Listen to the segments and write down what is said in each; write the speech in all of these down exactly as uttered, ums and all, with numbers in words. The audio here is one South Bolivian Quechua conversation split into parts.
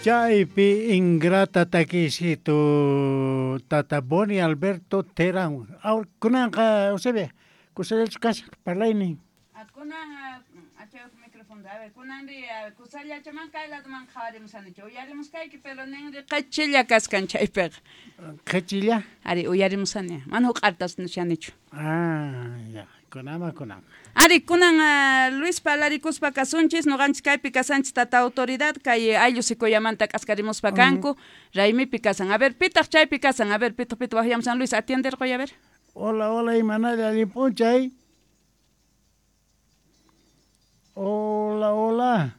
Chaypi ingrata takisitu tata Boni Alberto Terán. Ahora kunanqa Eusebia, kusallachu kashan parlaynin. Kunan achayuq micrófono, a ver, kunanri kusallachaman kay laduman qhawarimusanichu, uyarimuskayki, pero ninri qhachilla kaskan chaypiqa. Qhachilla? Ari, uyarimusani, mana huq'artas nishanichu. Ah, ya, kunama kunan. Ari, kunan uh, Luis palarikuspa kasunchis, noqanchis kaypi kasanchis tata autoridad, kay ayllu Secoyamanta k'askarimuspa kanku, raymipi kasan. A ver, pitaq chaypi kasan, a ver, pitaq pitaq waqyamusan Luis, atienderqoy, a ver. Hola, hola, imanalla allin p'unchay. Hola, hola.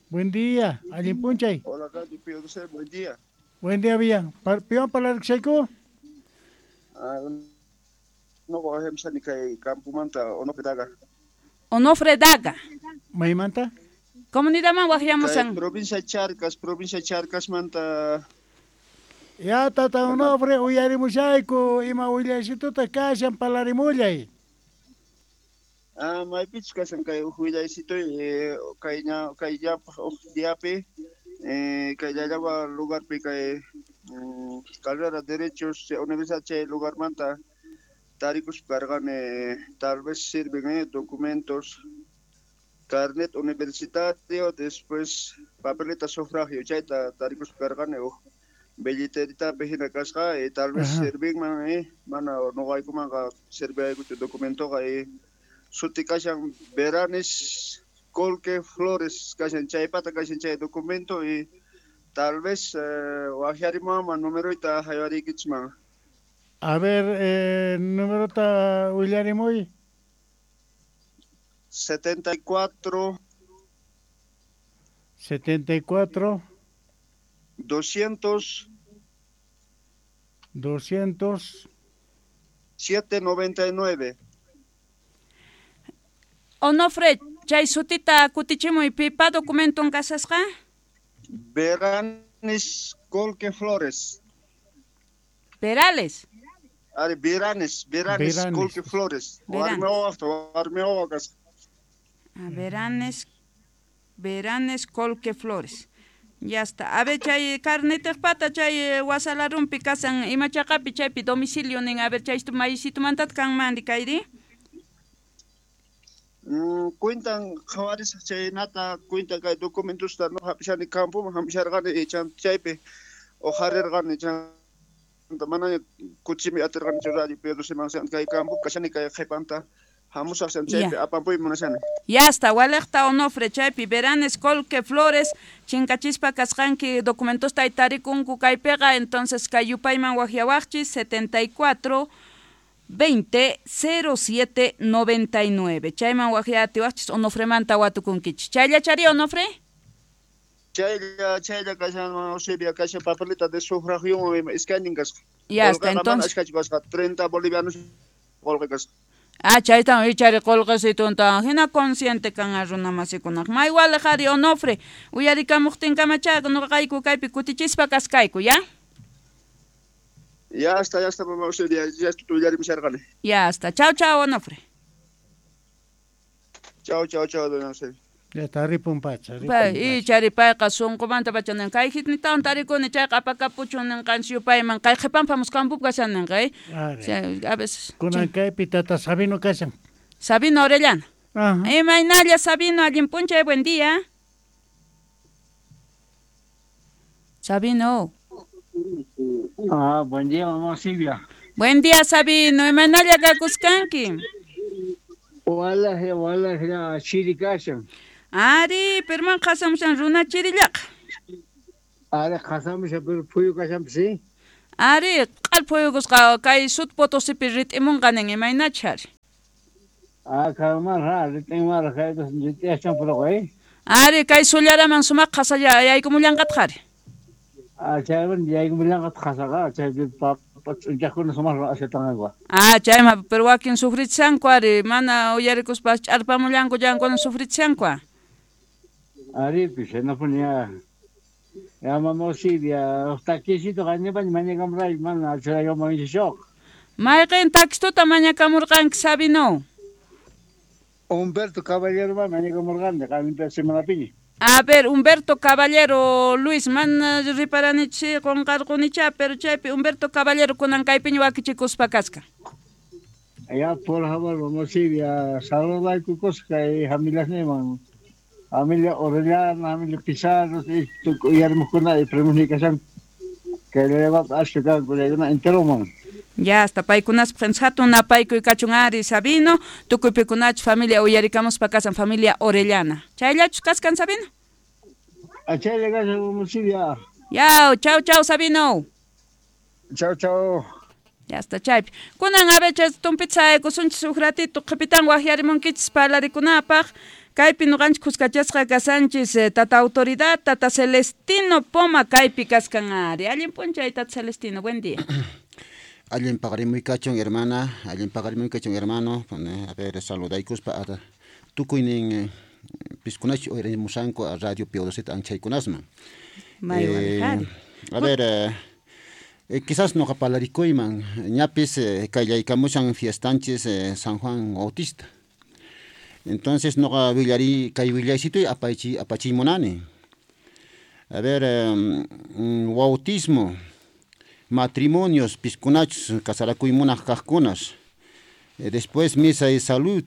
Buen día, allin p'unchay. Hola, Calle Pío José, buen día. Buen día, Villa. Piwan parlarikushayku? Ah, no, wajyamusani kay campomanta Onofre Daga. Onofre Daga. Maymanta? Comunidadman wajyamusan. Kay provincia Charcas, provincia Charcasmanta. Ya, tata Onofre, uyarimushayku, ima willaysituta kashan parlarimullay. Ah, maypichus kashan kay uj willaysituy, eh, kay ña kay llapaj uj diapi, eh, kay llallaba lugarpi kay mm, carrera derechos universidad chay lugarmanta tarikuspa karqani, tal vez sirven eh, documentos, carnet universitario, después papeleta sufragio chayta tarikuspa karqani uj billeteritapi hina kasqa, eh, tal vez sirvinman eh, mana noqaykumanqa sirviaykuchu documentoqa eh, suti kashan Veranes Colque Flores kashan chaypata kashan chay documento y tal vez eh, wajyarimuwanman numeroyta haywariykichman. A ver, eh, numerota willarimuy. setenta y cuatro setenta y cuatro doscientos doscientos siete noventa y nueve. Onofre, chay sutita kutichimuy, pipa documenton kasasqa? Veranes Colque Flores. Perales. Ari, Veranes, Veranes, Veranes. Colque Flores. Veranes. Warmi wawa kasqa. A Veranes, Veranes Colque Flores. Ya está. A ver, chay carnetejpata, chay wasalarumpi kasan, imachaqapi chaypi domicilio nin, a ver, chay maysitumantata kanman kayri. Mm, cuentan qhawarisaq chaynata, cuentan kay documentosta no hap'ishani campoman hampisharqani chan chaypi uqharirqani chanta manaña kuchimi atirqanichu radio Pedro Simán kay campo kashani kay qhipanta hamusaq chan chaypi apampuymi munashani. Ya está, waliqta Onofre chaypi Veranes Colque Flores chinkachispa kasqanki documentosta tarikunku kaypiqa, entonces kay yupayman waqyawaqchis setenta y cuatro veinte cero siete noventa y nueve. Chayman waqyatiwaqchis Onofremanta watukunkichis. Chayllachari Onofre? Chaylla, chaylla kashan Eusebia kashan papeleta de sufragio iskaynin kasqa. Ya está, entonces. Ashkachu kasqa treinta bolivianos qolqe kasqa. Ah, chaytan ichari qolqesitunta hina consciente kan runa masikunaq. May waliq ari Onofre, uyarikamuqtinkamacha noqayku kaypi kutichispa kaskayku, ya? Ya está, ya está, mamá Eusebia, ya está, uyarimusharqani. Ya está. Chao, chao, Onofre. Chao, chao, chao, doña Eusebia. Ya está, ripun pacha. Y chari payqa sunqumanta pacha nin kay hitnitawan tarikuni chayqa apakapuchun ninqanchis yupayman kay qhipanpamus campopi kashan ninqa, eh. A veces. Kunan kaypi tata Sabino kashan. Sabino Orellana. Ajá. Imaynalla Sabino, allin p'unchay, buen día. Sabino. Ah, buen día, mamá Silvia. Buen día, Sabino. Imaynalla kakuskanki. Wala, wala, chiri kashan. Ari, pero man qasamushan runa chirillaqa. Ari, qasamushan, pero phuyu kashanpas, sí. Ari, q'al phuyukusqa kay sut Potosipi rit'imunqa nin, imaynacha ari. Ah, kanman ra, rit'inman ra, rit'iyachan purqa, eh. Ari, kay sullaraman sumaq qasalla yaykumullanqataq ari. Ah, chayman yaykumullanqataq qasaqa, chaypi papa ch'unchaqkuna sumaq ashatanqanku. Ah, chayma, pero wakin sufrichanku ari, mana uyarikuspa ch'arpamullanku llankuna sufrichanku. Ari, pues, no ponía. Ya, mamá Silvia, taquisito qanipaña mañakamurayku, mana achuraykamuwanchikchu. Mayqin taquistuta mañakamurqanki, Sabino? Humberto Caballero mañakamurqani, qanimpi semanapiña. A ver, Humberto Caballero, Luis, mana riparanichi qunqarqunicha, pero chaypi Humberto Caballero kunan kaypiña wakichikuspa kasqa. Ya, por favor, vamos a saludayku kay familiasniman. Familia Orellana, familia Pizarro, uyarimuqkuna y primos kay llaqtapi ashka kanku chaykuna enteroman. Ya, hasta paykunaspaq hatun napaykuy kachun ari Sabino, tukuy pikunachu familia uyarikamuspa kasan familia Orellana. Chayllachu kaskan Sabino? Chaylla kashan Silvia. Ya, chau chau Sabino. Chau chau. Ya hasta chaypi. Kunan a ver tumpita saykusunchis huk ratito qhipitan waqyarimunkichis parlarikunapaq. Kaypi nuqanchik kuskachasqa kasanchis tata autoridad, tata Celestino Poma kaypi kaskan ari. Allin p'unchay tata Celestino, buen día. Allin paqarimuy kachun hermana, allin paqarimuy kachun hermano, a ver saludaykuspa tukuynin piskunachu uyarimusanku a Radio P O Z anchaykunasman. Eh, a ver, eh, eh, quizás noqa parlarikuyman ñapis eh, kallaykamushan fiestanchis eh, San Juan Bautista. Entonces noqa willari kay willaysituy apachi apachimunani. A ver, eh, bautismo, matrimonios, piskunachus, casarakuymunaq kaqkunas. Eh, después misa de salud,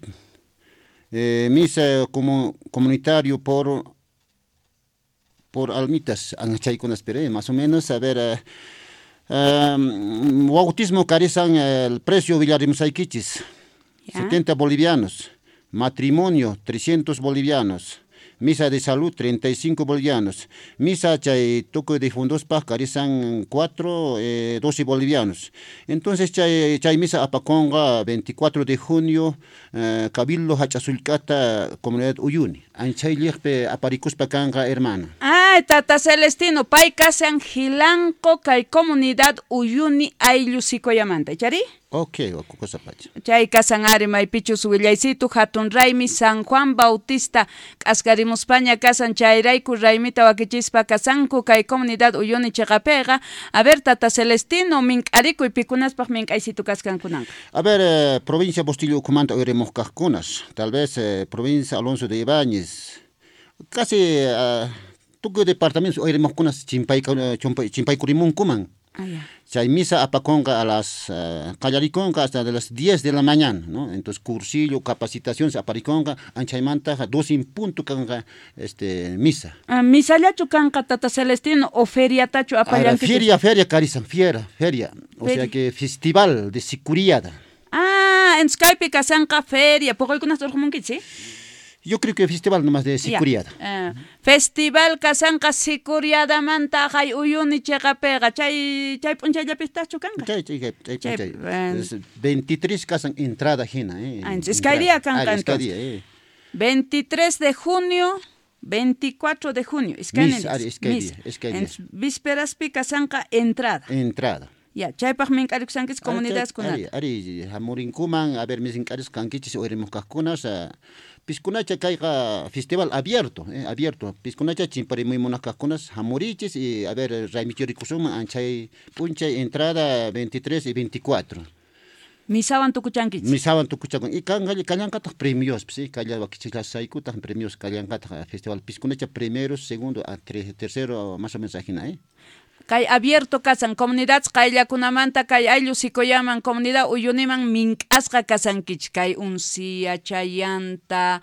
eh, misa como comunitario por por almitas, anchaykunas, pero eh, más o menos, a ver, eh, eh, bautismo carizan el precio villarimusaykichis, setenta bolivianos, matrimonio trescientos bolivianos, misa de salud treinta y cinco bolivianos, misa chay tukuy difundospaj carizan cuatro, eh, doce bolivianos. Entonces chay, chay misa apaconga veinticuatro de junio, eh, Cabildo Hachazulcata, comunidad Uyuni. Anchay liqpi aparikuspa kanqa hermana. Ay, tata Celestino, pay kasan Jilanco kay comunidad Uyuni ayllu Sikoyamanta, chari? Ok, cosa pacha. Chay kasan ari maypichus willaysitu hatun raymi San Juan Bautista k'askarimuspaña kasan chayrayku raymita wakichispa kasanku kay comunidad Uyuni chiqapiqa. A ver, tata Celestino, mink'arikuy pikunaspaq mink'aysitu kaskankunanqa. A ver, eh, provincia Bustillo ukhumanta uyarimuq kaqkunas, tal vez eh, provincia Alonso de Ibáñez, casi uh, tukuy departamentos uyarimuqkunas chimpaykurimunkuman. Ah, ya. Chay misa apaconga a las uh, qallarikonqa hasta de las diez de la mañana, ¿no? Entonces cursillo, capacitación se apariconga, anchaymanta doce en punto kanqa este misa. Ah, misallachu kanqa tata Celestino o feriatachu apallankichis? Feria, feria karizan, fiera, feria, o feria. Sea que festival de sicuriada. Ah, en Skype kasanqa feria, poquykunas urqumunkichis, ¿sí? Yo creo que festival nomás de sicuriada. Uh, festival kasanqa sicuriadamanta hay Uyuni chiqapiqa chay chay p'unchayllapistaqchu kanqa. Chay chay chay chay. veintitrés kasan entrada hina, eh. Ah, iskay día kanqa entonces. Eh. veintitrés de junio, veinticuatro de junio, iskay día, iskay día. Vísperaspi kasanqa entrada. Entrada. Ya, chaypaq mink'arikushankichis comunidadkunata. Ari, ari, hamurinkuman, a ver, mink'arisqankichis uyarimuq kaqkunas, piskunacha kayqa festival abierto, eh, abierto. Piskunacha chimparimuy munaq kaqkunas hamurichis y a ver, raymichurikusunman anchay p'unchay entrada veintitrés y veinticuatro. Misawan tukuchankichis. Misawan tukuchakun. Y kanqa kallanqataq premios, sí, kalla wakichillasaykutaq premios kallanqataq festival piskunacha primero, segundo, a tercero, más o menos ajina, eh. Kay abierto kasan comunidad qayllakunamanta kay ayllu Sikoyaman comunidad Uyuniman mink'asqa kasankichis kay Uncia, Chayanta,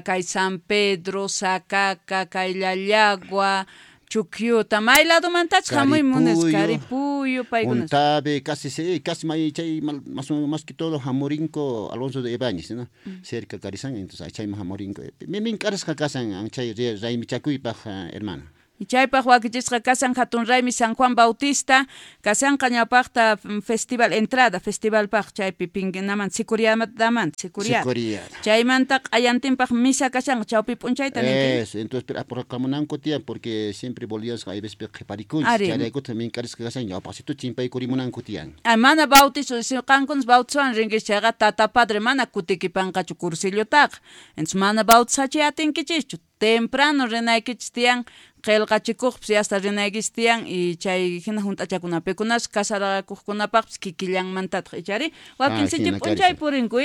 kay San Pedro, Sacaca, kay Llallagua, Chukyuta, may ladomantachus hamuy munas, Caripuyo, paykunas. Untabe, casi sí, casi may chay más más que todo hamurinco Alonso de Ibáñez, ¿no? Mm. Cerca Carizán, entonces chayman hamurinco. Mink'arisqa kasan chay raymichakuypaq hermana. Y chaypaq wakichisqa kasan hatun raymi San Juan Bautista, kasanqa ñawpaqta festival entrada, festivalpaq chaypi pinguinaman sicuriadaman, sicuriada. Chaymanta q'ayantinpaq misa kashanqa chawpi p'unchayta ninki. Eso, entonces pero apurakamunanku tiyan porque siempre bolivianos hay veces qhiparikunchis, chayraykutaq mink'arisqa kasan ñawpaqsitu chimpaykurimunanku tiyan. Ah, mana bautizo, si qankunas bautizowan rinkichis chayqa tata padre mana kutikipanqachu cursillotaqa. Entonces mana bautizachiy atinkichischu. Temprano rinaykichis tiyan qillqachikuqpis hasta rinaykichis tiyan y chay hina junt'achakunapi pikunas kasarakuqkunapaqpis kikillanmantataq ichari wakin sinchi p'unchay purinku.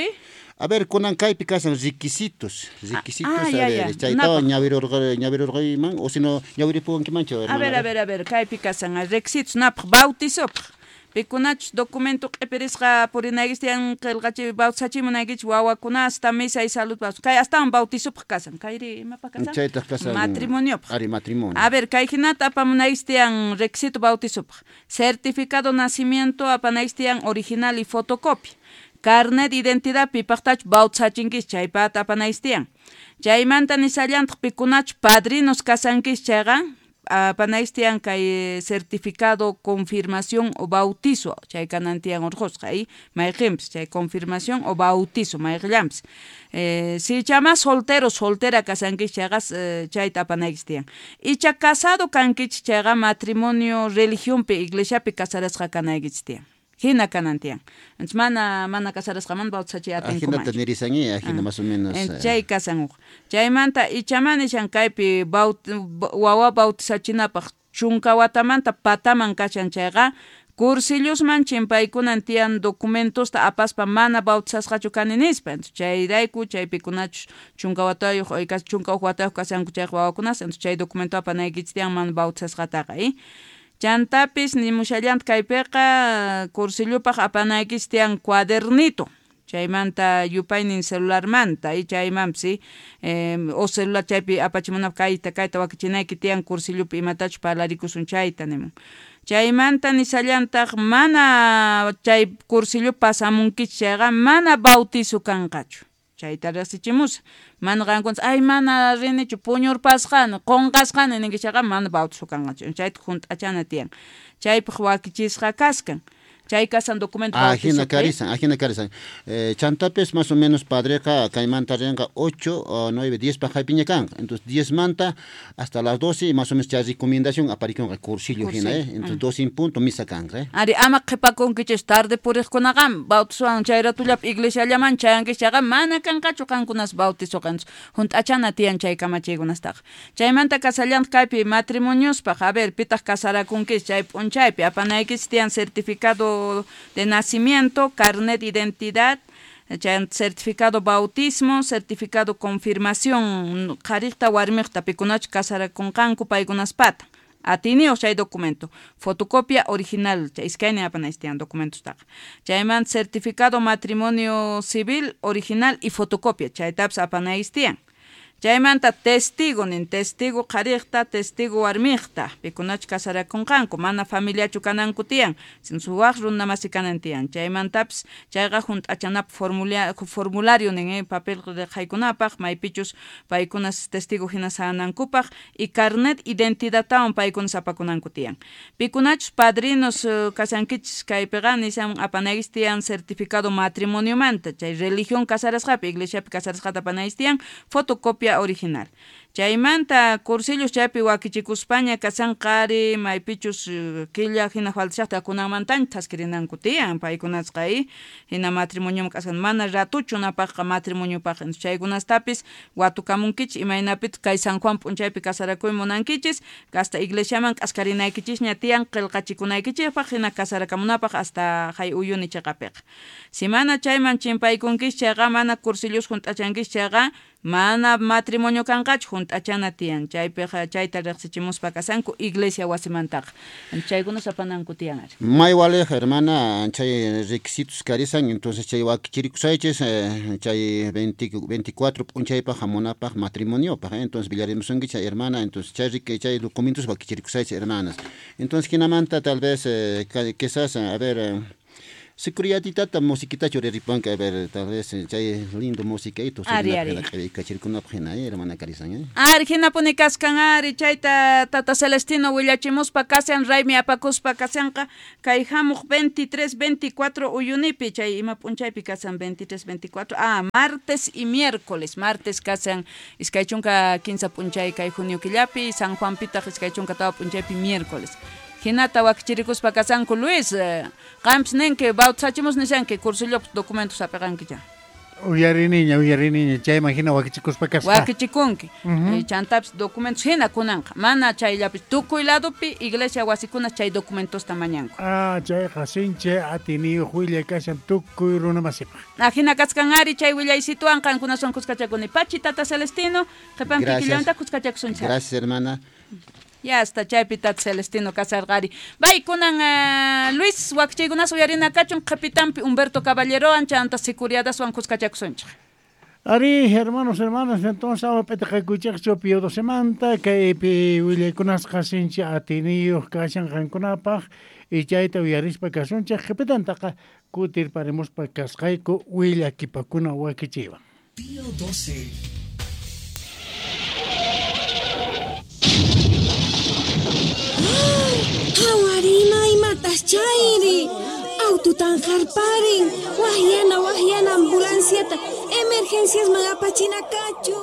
A ver, kunan kaypi kasan requisitos, requisitos, ah, a ver, chaytawan ñawirurqa ñawirurqayman o sino ñawiripuwankimanchu. A ver, a ver, a ver, kaypi kasan requisitos napaq bautizopaq. Pikunachus documento q'ipirisqa purinaykichis tiyan qillqachi bautizachimunaykichis wawakunasta misa y salud kay astawan bautizopaq kasan kayri imapaq kasan chaytaq kasan matrimoniopaq ari matrimonio. A ver, kay hinata apamunaykichis tiyan requisito bautizopaq certificado nacimiento apanaykichis tiyan original y fotocopia carnet de identidad pipaqtachus bautizachinkichis chaypata apanaykichis tiyan chaymanta nisallantaq pikunachus padrinos kasankichis chayqa apanaykichis tiyan kay certificado confirmación o bautizo chay kanan tiyan urqusqa y mayqinpis chay confirmación o bautizo mayqillanpis eh, si chama soltero soltera kasankichis chayqa eh, chayta apanaykichis tiyan icha casado kankichis chayqa matrimonio religionpi iglesiapi casarasqa kanaykichis tiyan hina kanan tiyan entonces mana mana casarasqaman bautizachiy atinkumanchu ajinata nirisangi ajina más o menos chay kasan uq chaymanta ichaman nishan kaypi baut wawa bautizachinapaq chunka watamanta pataman kashan chayqa cursillosman chimpaykunan tiyan documentosta apaspa mana bautizasqachu kani nispa entonces chayrayku chaypikunachus chunka watayuq o chunka huk watayuq kashanku chayqa wawakunas entonces chay documento apanaykichis tiyan mana bautizasqataqa y chantapis nimushallanta kaypiqa cursillopaq apanaykichis tiyan cuadernito chaymanta yupaynin celularmanta y chaymanpis eh, o celular chaypi apachimunapaq kayta kayta wakichinayki tiyan cursillopi imatachus parlarikusun chayta nimun chaymanta nisallantaq mana chay cursillo pasamunkichis chayqa mana bautizo kanqachu chayta riqsichimusa mana qankunas ay mana rinichu puñurpasqani qunqasqani ninkichis chayqa mana bautizo kanqachu chayta junt'achana tiyan chaypaq wakichisqa kaskan chay kasan documento ajina karisan ajina karisan eh, chantapis más o menos padreqa kaymanta rinqa ocho o nueve diez paq haypiña kanqa entonces diez manta hasta las doce más o menos chay recomendación aparikunqa cursillo hina eh entonces doce en punto misa kanqa eh ari ama qhipakunkichis tarde puriqkunaqa bautizowan chay ratullapi iglesiallaman chayankichis chayqa mana kanqachu qankunas bautizo kanchu junt'achana tiyan chay kamachiykunastaqa chaymanta kasallantaq kaypi matrimoniospaq a ver pitaq casarakunkichis chay p'unchaypi apanaykichis tiyan certificado de nacimiento, carnet de identidad, certificado bautismo, certificado confirmación, qhariqta warmiqta pikunachu casarakunqanku paykunaspata atiniyuq chay documento, fotocopia original, chay iskaynin apanaykichis tiyan documentostaqa chaymanta certificado matrimonio civil original y fotocopia chaytapis apanaykichis tiyan chaymanta testigo nin testigo qhariqta testigo warmiqta pikunachu casarakunqanku mana familiachu kananku tiyan waq runa masi kanan tiyan chaymantapis chayqa junt'achanapaq formula formulario nin eh, papel qhaykunapaq maypichus paykunas testigo hina sanankupaq y carnet identidadtawan paykunas apakunanku tiyan pikunachus padrinos kasankichis kaypiqa nishan apanaykichis tiyan certificado matrimoniomanta chay religión casarasqapi iglesiapi casarasqata apanaykichis tiyan fotocopia original chaymanta cursillos chaypi wakichikuspaña kasan qhari maypichus killa hina faltashaqta kunanmantaña thaskirinanku tiyan paykunasqa y hina matrimonioman k'askan mana ratuchu napaqqa matrimoniopaq chaykunastapis watukamunkichis imaynapitaq kay San Juan p'unchaypi casarakuy munankichis hasta iglesiaman k'askarinaykichishña tiyan qillqachikunaykichikpaq hina casarakamunapaq hasta hay uyuni chiqapiqa si mana chayman chimpaykunkichis chayqa mana cursillos junt'achankichis chayqa mana matrimonio kanqachu junt'achana tiyan chaypiqa chayta riqsichimuspa kasanku iglesia wasimantaqa chaykunas apananku tiyan ari may waliq hermana chay requisitos karisan entonces chay wakichirikusaychis eh, chay veinticuatro p'unchaypaq hamunapaq matrimoniopaq eh? Entonces villarimusunki chay hermana entonces chay chay documentos wakichirikusaychis hermanas entonces hinamanta tal vez eh, quizás a ver eh, Seguridad musiquita churiripanka a ver tal vez chay lindo música y todo ari ari kachirkunapaq hina hermana karisan eh ari hinapuni kaskan ari chayta tata Celestino willachimuspa kasan raymi apakuspa kasanqa kay hamuq veintitrés veinticuatro uyunipi chay ima p'unchaypi kasan veintitrés veinticuatro ah martes y miércoles martes kasan iskay chunka kinsa p'unchay kay junio killapi San Juan pitaq iskay chunka tawa p'unchaypi miércoles hinata wakichirikuspa kasanku Luis qampis ninki bautizachimus nishanki cursillopi documentos apiqankicha. Uyariniña, uyariniña, chayman hina wakichikuspa kasqa. Wakichikunki. Uh-huh. Chantapis documentos hina kunanqa. Mana chayllapi tukuy ladopi iglesia wasikuna chay documentosta mañanku. Ah, chayqa sinchi atiniyuq willay kashan tukuy runa masipaq. Ajina kaskan ari chay willaysituwan qankunawan kuskachakuni. Pachi tata Celestino, qhipan kikillanta kuskachakusunchik. Gracias, hermana. Ya hasta chaypi tata Celestino kasarqari. Bay kunan uh, Luis wakchaykunas uyarina kachun qhipitanpi Humberto Caballerowan chanta sicuriadaswan kuskachakusunchik. Ari, hermanos, hermanas, entonces awa p'itiqakuychikchu Pío Docemanta kaypi willaykunasqa sinchi atiniyuq kashan qankunapaq y chayta uyarispa kasunchik qhipitantaqa kutirparimuspa kasqayku willakipakuna wakichiywan. Pío doce. Qhawarina imatas chayri aututan harparin wahyana wahyana ambulanciata emergencias apachina kachu.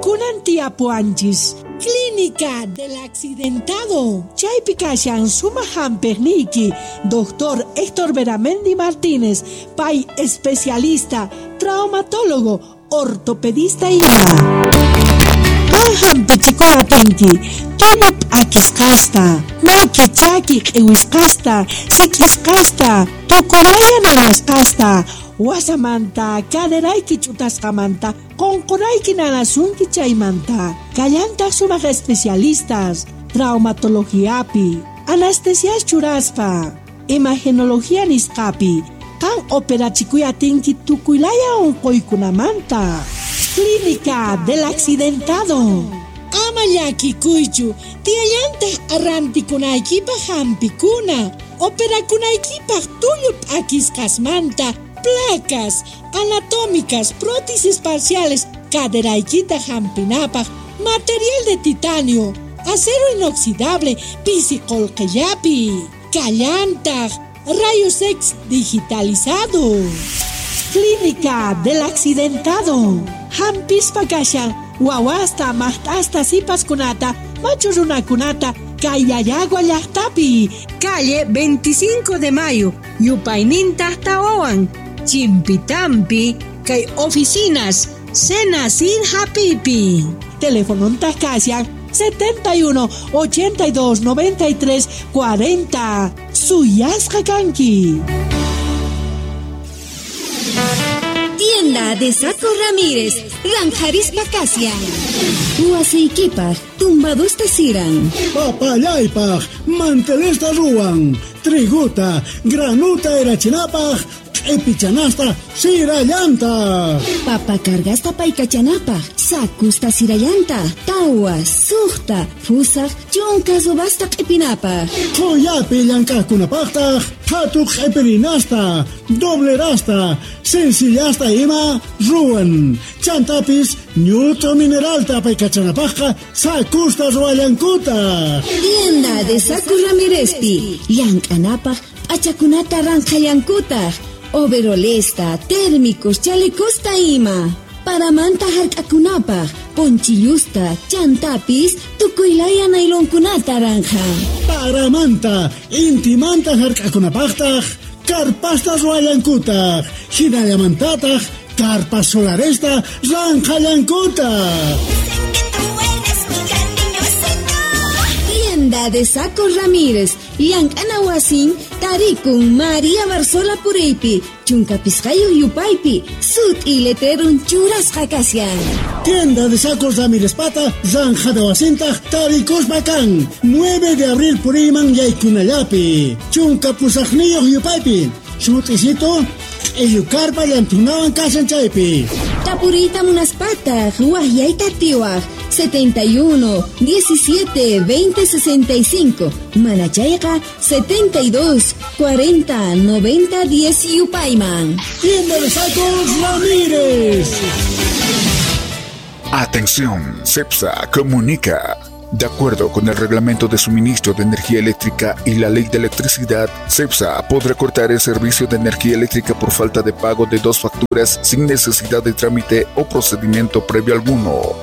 Kunan tiapuanchis Clínica del Accidentado. Chaypi kashan sumaq hampiqniyki Doctor Héctor Beramendi Martínez, pay especialista, traumatólogo, ortopedista ima. Hampichikuna tinki, tullup akisqasta, maki chaki q'iwisqasta, sik'isqasta, tukuraya nanasqasta, wasamanta, caderayki ch'utasqamanta, qunqurayki nanasunki chaymanta. Kallantaq sumaq especialistas, traumatologiapi, anestesias churaspa, imagenología nisqapi, qan operachikuy atinki tukuylaya unquykunamanta. Clínica del Accidentado. Ama llakikuychu, tiyallantaq arrantikunaykipaq hampikuna, operakunaykipaq tullu p'akisqasmanta, placas anatómicas, prótesis parciales, caderaykita hampinapaq, material de titanio, acero inoxidable, pisi qullqillapi, kallantaq, rayos X digitalizado. Clínica del Accidentado. Hampispa kashan, wawasta, maqt'asta, sipaskunata, machu runakunata, Kayayagua llaqtapi. Calle veinticinco de Mayo, yupayninta tawawan, Chimpitampi, kay oficinas, Cena sin hapipi. Teléfono kashan setenta y uno, ochenta y dos, noventa y tres, cuarenta. Suyasqa kanki. Tienda de Saco Ramírez, Ranjarispa Casia. Huaseikipaj, tumbadusta siran. Papallaypaj, mantelesta ruwan. Triguta, granuta erachinapaj, q'ipichanasta sirallanta. Papa cargasta paykachanapaj, sakusta sirallanta, tawa, suqta, fusaj, chunka subasta q'ipinapaj. Qhuyapi llank'aqkunapaqtaq, phatu q'ipirinasta, doblerasta, sencillasta ima ruwan. Chantapis ñut'u mineralta paykachanapaqqa sakusta ruwallankutaq. Tienda de Saco Ramírezpi, llank'anapaq p'achakunata ranqhallankutaq. Overolesta, térmicos, chalecosta ima. Paramanta hark'akunapaq, ponchillusta, chantapis, tukuylaya nailonkunata ranja. Paramanta, intimanta hark'akunapaqtaq, karpasta ruwallankutaq, hinallamantataq, karpas solaresta ranqhallankutaq. Tienda de Saco Ramírez, llank'ana wasin, tarikun María Barzola Puriypi, chunka pisqayuq yupaypi, sut'i letrerun churasqa kashan. Tienda de Sacos Ramírez pata, ranjada wasintaq, tarikuspa kan, nueve de abril puriyman yaykunallapi, chunka pusaqniyuq yupaypi, sut'isito, q'illukarpa llantunawan kashan chaypi. Tapuriyta munaspataq, wahyayta tiwaq, setenta y uno, diecisiete, veinte, sesenta y cinco. Manachayqa setenta y dos, cuarenta, noventa, diez yupayman. Tienda de Sacos Ramírez. Atención, CEPSA comunica. De acuerdo con el Reglamento de Suministro de Energía Eléctrica y la Ley de Electricidad, CEPSA podrá cortar el servicio de energía eléctrica por falta de pago de dos facturas sin necesidad de trámite o procedimiento previo alguno.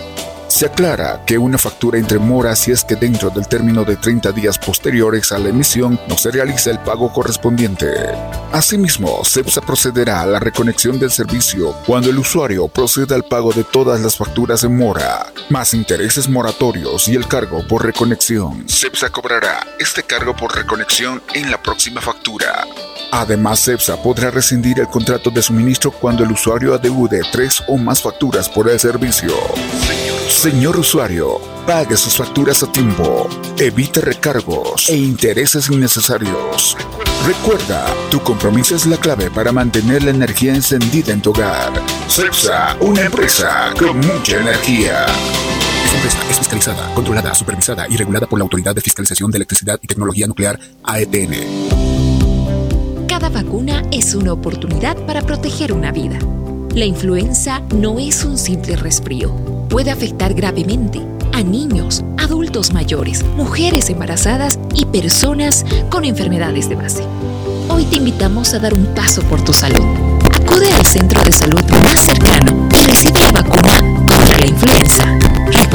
Se aclara que una factura entre mora si es que dentro del término de treinta días posteriores a la emisión no se realiza el pago correspondiente. Asimismo, CEPSA procederá a la reconexión del servicio cuando el usuario proceda al pago de todas las facturas en mora, más intereses moratorios y el cargo por reconexión. CEPSA cobrará este cargo por reconexión en la próxima factura. Además, CEPSA podrá rescindir el contrato de suministro cuando el usuario adeude tres o más facturas por el servicio. Señor usuario, pague sus facturas a tiempo, evite recargos e intereses innecesarios. Recuerda, tu compromiso es la clave para mantener la energía encendida en tu hogar. CEPSA, una empresa con mucha energía. Esta empresa es fiscalizada, controlada, supervisada y regulada por la Autoridad de Fiscalización de Electricidad y Tecnología Nuclear, A E T N. Cada vacuna es una oportunidad para proteger una vida. La influenza no es un simple resfrío. Puede afectar gravemente a niños, adultos mayores, mujeres embarazadas y personas con enfermedades de base. Hoy te invitamos a dar un paso por tu salud. Acude al centro de salud más cercano y recibe la vacuna contra la influenza. Recuerda,